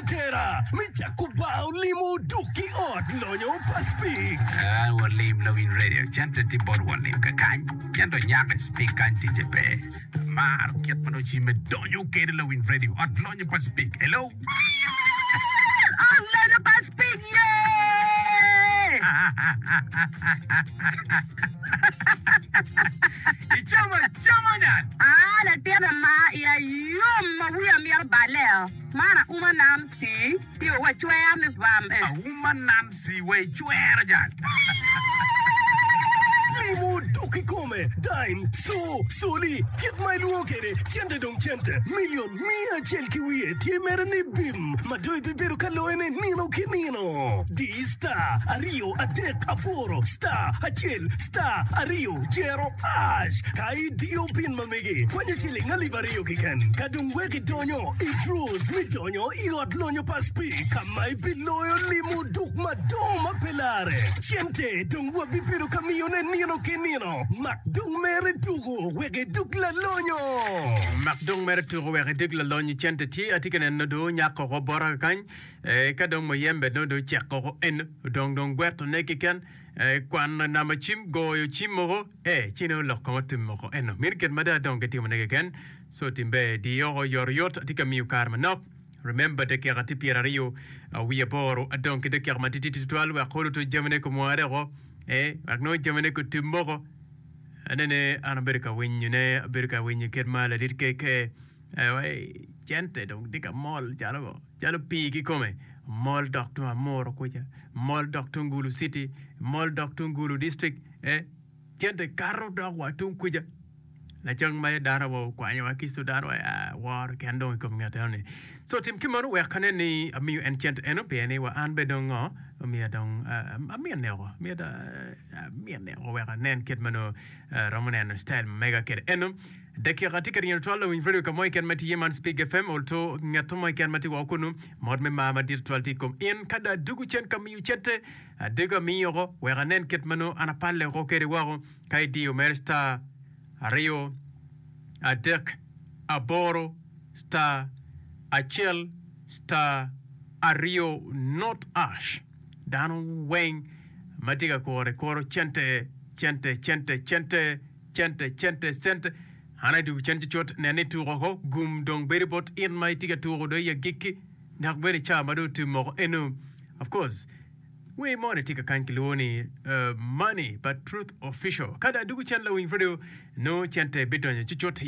atera me cako bar olimo duk ki ot lonyo pa Speaks. Ah, walim lawiny radio, cente tye bot walim kakany, ento nyako i Speak kany ticce pe. Amaro kit ma nongo cimme donyo kede lawiny radio, ot lonyo pa Speak. Hello. Ot lonyo pa Speak ye! Icamo acama nyan. Ah, latin amar iya yom ma wiya mito balle-o. Man auma Nancy tye wa cwer ni vam eh. Auma Nancy wa icwero jal. Limo dok kikome, dime, co, coli, kit ma ilwongo kede, cente dong cente, milion miya acel ki wiye tye mere ni bim ma dong ibibedo ka loyone nino ki nino. Di star aryo adek aboro star acel star aryo jero ash ka idiyo pin ma megi kwanyo ciling alip aryo keken ka dong wek idonyo i draws me donyo i ot lonyo pa Speke ka ma ibiloyo limo duk madongo ma pe lare. Cente dong wabibedo ka miyone nino ki nino. Mak dong mere tuko wek idug lalonyo. Mak dong mere tuko wek idug lalonyo. Cente tye atye ka neno dong onyak oko bota kakany. Ka dong muyembe dong dong ocek oko eno odong dong gwetone keken. Kwano namba cim, goyo cim mogo, ee, ci nongo lok kong otim moko eno. Meno gin ma dong adong ki timone keken. So tim ber, di oko oyotoyot, atye ka miyo kare manok. Remember, dakika tye pyeraryo wiye aboro, adong ki dakika matitidi tutwal wek olo to jamine komware oko, ee, wek nongo jamine kotim moko. Anene an abedo ka winyone, abedo ka winyo kit ma ladit KK Cente dong tye ka mol calo ngo? Calo pii kikome, mol dok tung Amuru kuca, mol dok tung Gulu city, mol dok tung Gulu district, eh, cente kato dok wa tung kuca. Lacang ma dano wa okwanyowa ki Sudan wa ah, woro ken dong i kom ngat eno ni. So tim ki meno wek anen ni amiyo en cente eno pien ni wa an bene dong ngo omiya dong ah, amine woko, myero amine woko wek anen kit ma nongo aromo neno style ma mega kwede eno. Dakika tye ka ryeny tutwal lawiny radio ka mo keken ma tye iye man Spig FM olto ngat mo keken ma tye woko kunu mot me mar madit tutwal tye i kom in ka dong adugu cen ka miyo cente adego amiyo oko wek anen kit ma nongo an apalle oko kede woko ka idiyo mere star aryo adek aboro star acel star aryo not ash dano weng ma tye ka kuro kuro cente cente cente cente Cente, cente, cente. An adwogo cen cucut, nen ni ituko oko, gum dong bedo bot in ma itye ka tuko dong i agikki, dok bene i cawa ma dong otum moko eno. Of course, wer moni tye kakany kilwongo ni Money pa Truth Official. Ka dong adwogo cen lawiny radio, nongo cente bidonyo cucut.